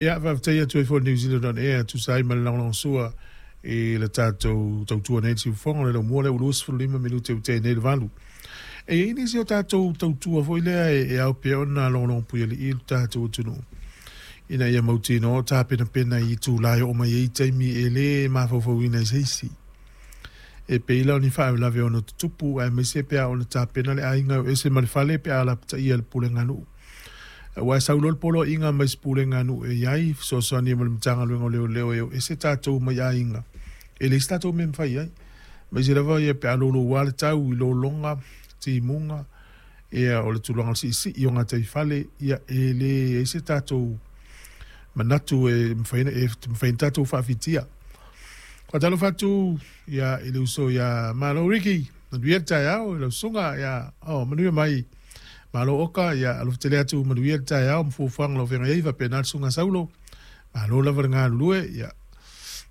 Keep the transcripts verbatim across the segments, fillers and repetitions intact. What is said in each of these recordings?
Ia, faafetai atu ai foi i le New Zealand On Air e tusa ai ma le lagolagosua i le tatou tautua nei i le siufofoga o le laumua lea ua luasefulu lima minute ua tea nei le valu. E i ai nisi o tatou tautua foi lea e ao pea ona logologo puialii le tatou atunuu ina ia mautinoa o tapenapena i itula e oo mai ai taimi e le mafaufauina ai se isi. E pei la o ni faalavelave e ono tutupu aemaise pe a ono tapena le aiga e o ese ma le fale pe a lapataia e le pulega a nuu. Aua e sau loa le poloaiga mai se pulega a nuu e i ai fesoasoani ma le Matagaluega o Leoleo e o ese tatou mai aiga, e leai se tatou mea e mafai ai. Aemaise lava ia pe a louloua le tau i lologa, timuga, ia o le tulaga o le siisii o gataifale, ia e leai se tatou manatu e mafai ona tatou faafitia. Faatalofa atu ia, i le uso ia Malo Riki, manuia le taeao i lau susuga, ia, oh, manuia mai Malo Oka, ia, alofa tele atu, manuia le taeao ma fuafuaga o lo o feagai ai, faapena le susuga Saulo, malo lava le galulue, ia,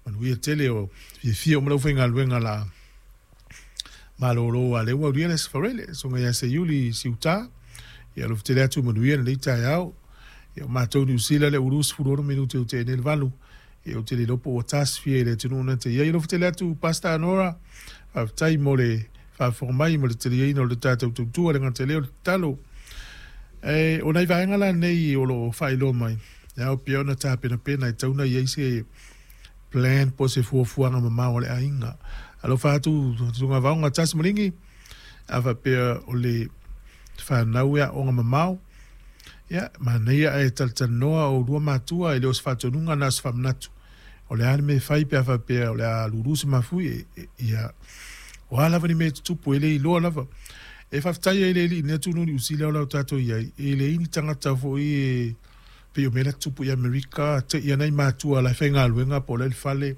manuia tele o fiafia uma le aufaigaluega la malolo a lea ua aulia le Aso Faraile, susuga ia Seiuli Siuta, ia alofa tele atu, manuia lenei taeao. Ia, o matou Niu Sila lea ua luasefulu ono minute ua tea nei le valu, ia ou te le iloa po ua tasofia i le atunuu na te i ai. Alofa tele atu Pastor Nora, faafetai mo le faafofoga mai ma le taliaina o le tatou tautua le gata i lea o le tatalo. E, o nai vaega la nei o lo o faailoa mai, e ao pea ona tapenapena e tatau ona i ai se plan po o se fuafuaga mamao a le aiga. Alofa atu Susuga Vaoga Tasi Maligi, a faapea o le fanau e aoga mamao, ia, manaia ae talatalanoa oulua matua, e le o se faatonuga na o se faamanatu. O le a le mea e fai pe a faapea o le a lulu se mafui, ia, o a lava ni mea e tutupu, e le iloa lava. E faafetai ai le Alii i lenei atunuu Niu Sila o la o tatou i ai, e leai ni tagata foi e pei o mea la e tutupu i Amerika, te i ana i matua la e faigaluega po o la e i le fale,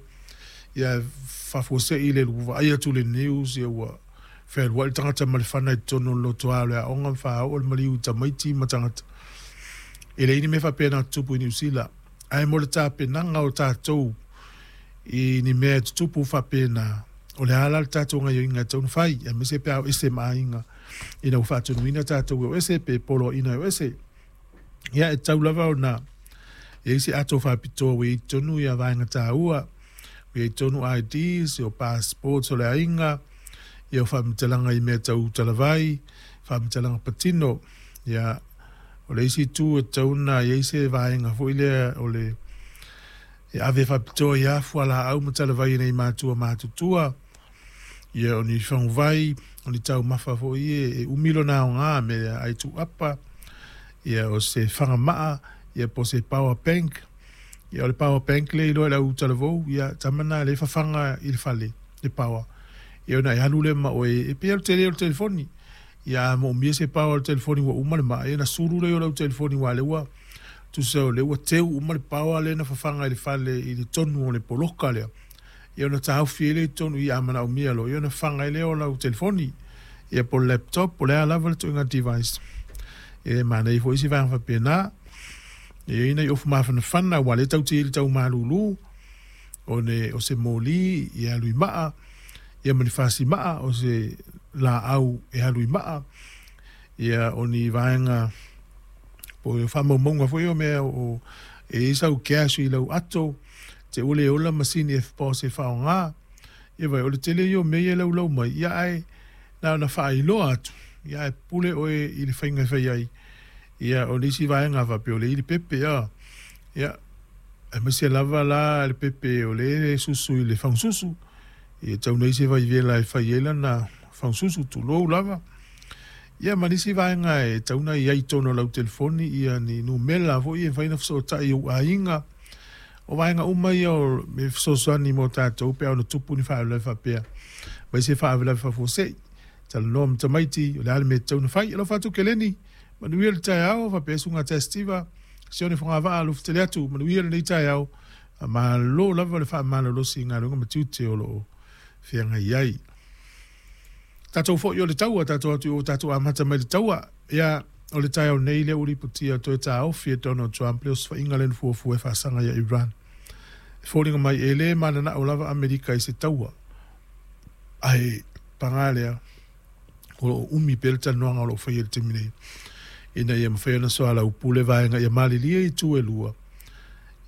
ia faafuasei le vaai atu i le news, ia ua fealuai le tagata ma le fana i totonu o le lotoa o le aoga ma faaoo le maliu i tamaiti ma tagata. E leai ni mea faapena tutupu i Niu Sila. Ae mo le tapenaga o tatou i ni mea e tutupu faapena, o le a la le tatou gaoioiga e tatau ona fai, aemaise pe a o ese ma aiga ina ua faatonuina tatou e o ese pe poloaiina e o ese. Ia, e tatau lava ona i ai se ato faapitoa ua i ai i totonu ia vaega taua, ua i ai i totonu I Ds, o passports o le aiga, ia o faamatalaga i mea tau talavai, faamatalaga patino. Ia, o le isi itu e tatau ona i ai se vaega foi lea o le e ave faapitoa i a fualaau ma talavai e nei matua matutua, ia o ni faguvai, o ni taumafa foi e umi lona aoga, mea ai tuuapa, ia o se fagamaa, ia po o se power bank. Ia o le power bank lea e iloa e le au talavou, ia tama na lea e fafaga i le fale le power, ia ona e alu lea ma oe, e pei lava o le tele o le telefoni. Ia a moomia se power o le telefoni ua uma le maa, ia ona sulu lea o lau telefoni, aua o lea ua tusa o lea ua teu uma le power lea na fafaga i le fale i le tonu o le poloka lea. Ia ona taofi ai lea i totonu i a manaomia loa, ia ona fafaga ai lea o lau telefoni, ia po o le laptop, po o le a lava le ituaiga device. E manaia foi se vaega faapena. E i ai nai ofu mafanafana, aua o lea tatou te i ai i le tau malulu, o, le, o se moli e alu i maa, ia ma ni fasimaa, o se laau e alu i maa, ia o ni vaega po o faamaumauga foi o mea o e i ai sau cash i lau ato, te ua le ola masini e F P O S e faaaoga. Ia vai, o le tele ia o mea ia e laulau mai, ia ae na ona faailoa atu, ia ae pule oe i le faiga e fai ai. Ia o le isi vaega faapea o le ili pepe, ia, ia aemaise lava la le pepe o le susu i le fagususu, ia tau nei se vaivela e fai ai lana fagususu, tulou lava. Ia ma nisi vaega e tatau ona i ai i totonu o lau telefoni, ia ni numera foi e mafai ona fesootai i ou aiga. O vaega uma ia o e fesoasoani mo tatou pe a ono tupu ni faalavelave faapea, aemaise faalavelave faafuasei. Talanoa ma tamaiti, o le a le mea e tatau ona fai. Alofa atu Keleni, manuia le taeao, faapea susuga Testiva, Sione Fogavaa, alofa tele atu, manuia lenei taeao. Malo lava le faamalolosi i galuega ma tiute o lo o feagai ai. Tatou foi o le taua, tatou atu i o tatou amata mai le taua. Ia, o le taeao nei lea ua lipotia toe taofi e Donald Trump le osofaiga lea na fuafua e faasaga ia Iran. E foliga mai e le mananao lava Amerika i se taua. Ae paga lea, o lo o umi pea le talanoaga o lo o faia i le taimi nei, ina ia mafai ona soalaupule vaega ia malilie itu e lua,